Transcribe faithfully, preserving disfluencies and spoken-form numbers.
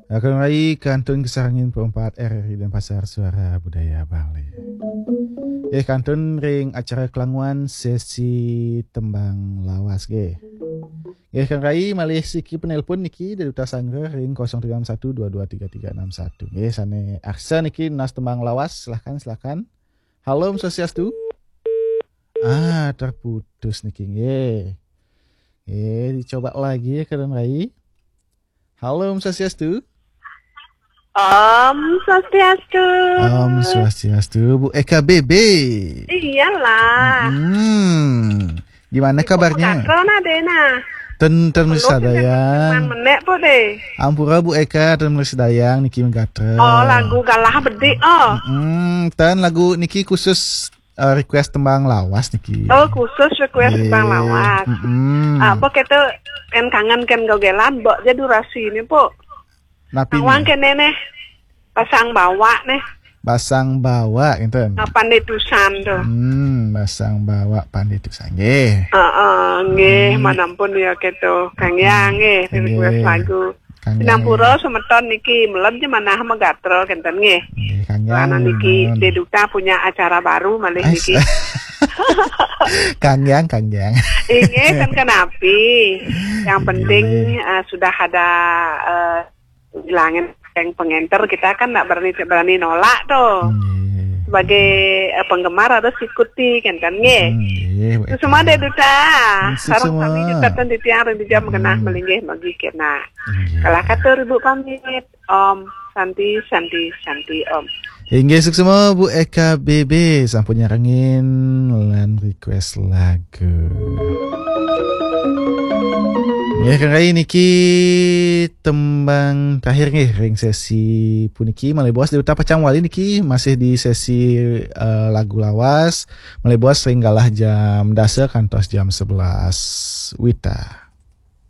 Akan rai kantun kasarengin perempat R R I Denpasar, Suara Budaya Bali. Eh, kantun ring acara kelanguan sesi tembang lawas nggih. Nggih, Kang Rai, malih siki penelpon niki dari Duta Sanggra ring kosong tiga enam satu dua dua tiga tiga enam satu. Nggih, sane arsa niki nunas tembang lawas, silahkan, silahkan. Halo, Om Swastiastu. Ah, terputus niki nggih. Nggih, dicoba lagi ya, Kang Rai. Halo, Om Swastiastu. Om Swastiastu. Om Swastiastu, Bu Eka B B. Iyalah. Hmm. Gimana kabarnya? Gatel nah deh nah. Ten ten Peluk sadayang. Menek po deh. Ampura Bu Eka, ten sadayang niki gatel. Oh, lagu galah bedik oh. Hmm, ten lagu niki khusus eh, request tembang lawas niki. Oh, khusus request tembang lawas. Mm-mm. Apa kita kan kangen kan gogelan, mbok aja durasi ini, Po. Napi Awang nih? Kene nih. Pasang bawa nih. Basang bawa gitu. Nah, pandai tusan tuh. Hmm, basang bawa pandai tusan nggih. Heeh, nggih, hmm. Manampun ya gitu. Kang ya nggih, request lagu. Kang Yang. Sinampura semeton niki melem je manah megatro kenten nggih. Nggih, Kang Yang. Karena niki Deduta punya acara baru malih niki. Kang Yang, Kang Yang. Inggih kan kenapi. Yang penting uh, sudah ada uh, bilangin yang pengenter kita kan nggak berani berani nolak tuh. Nggih. Sebagai uh, penggemar harus ikuti kan kan nggih. Hmm, nggih, Bu Eka. Semua Deduta. Sarang sami juga titiang ring dijam mengenah melinggih bagi kena. Nggih. Kalau kata ribu pamit. Om Santi, Santi, Santi, Om. Inggih, suksma Bu Eka B B sampun nyarengin lan request lagu. Ya, Kang Rai niki tembang terakhir nggih ring sesi puniki. Malih bos Deduta pacang wali niki masih di sesi eh, lagu lawas. Malih bos ring galah jam dasa kantos jam sebelas wita.